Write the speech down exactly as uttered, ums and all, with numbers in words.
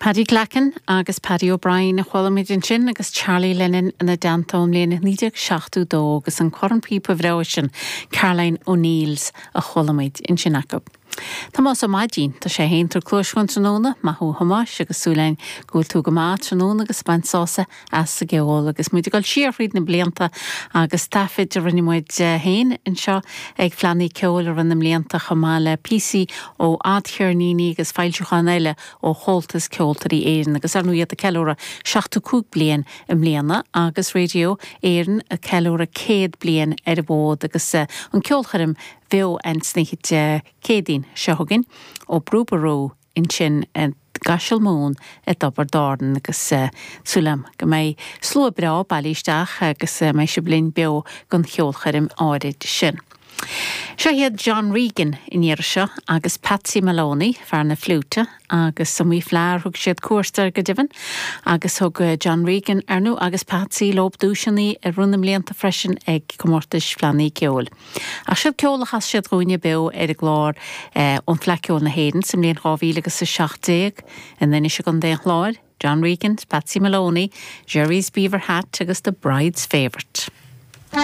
Paddy Glackin agus Paddy O'Brien a chuala muid ansin agus Charlie Lennon ina dteannta ón mbliain naoi déag seachtó dó agus an cornphíopa breá sin Caroline O'Neills a chuala muid ansin acu. Tomás Ó Maidín tá sé féin tar cluas chun tráthnóna maith thú a Thomáis agus súil againn go bhfuil tú go maith tráthnóna agus baint sásamh as an gceol agus muid ag dul siar thríd na blianta agus taifid a rinne muid féin anseo ag Fleadhanna Ceoil i rith na mblianta chomh maith le píosaí ó fhadcheirníní agus foilseacháin eile ó Chomhaltas Ceoltóirí Éireann agus ar ndóigh iad ag ceiliúradh seachtó cúig bliain i mbliana agus Radio Éireann ag ceiliúradh céad bliain ar an bhfód agus an ceolchoirm bheo an oíche Céadaoin seo chugainn ó Brú Ború ansin gCaiseal Mumhan i dTiobraid Árann agus súil agam go mbeidh slua breá bailithe isteach agus mbeidh sibh linn beo don cheolchoirm áirid sin. Seo iad John Regan in iar seo agus Patsy Maloney fear na fliúite agus sa mí Feabhra thug siad cuairt ar go deimhin agus thug John Regan ar ndóigh agus Patsy leo duaiseanna i rith na mblianta freisin ag comórtais Fleadhanna Ceoil. Ach seo ceol a chas siad dúinne beo ar an gclár eh, ón Fleadh Cheoil na hÉireann sa mbliain dhá mhíle agus a seacht déag in Inis i gContae an Chláir, John Regan, Patsy Maloney, Jerry's Beaver Hat agus The Bride's Favourite.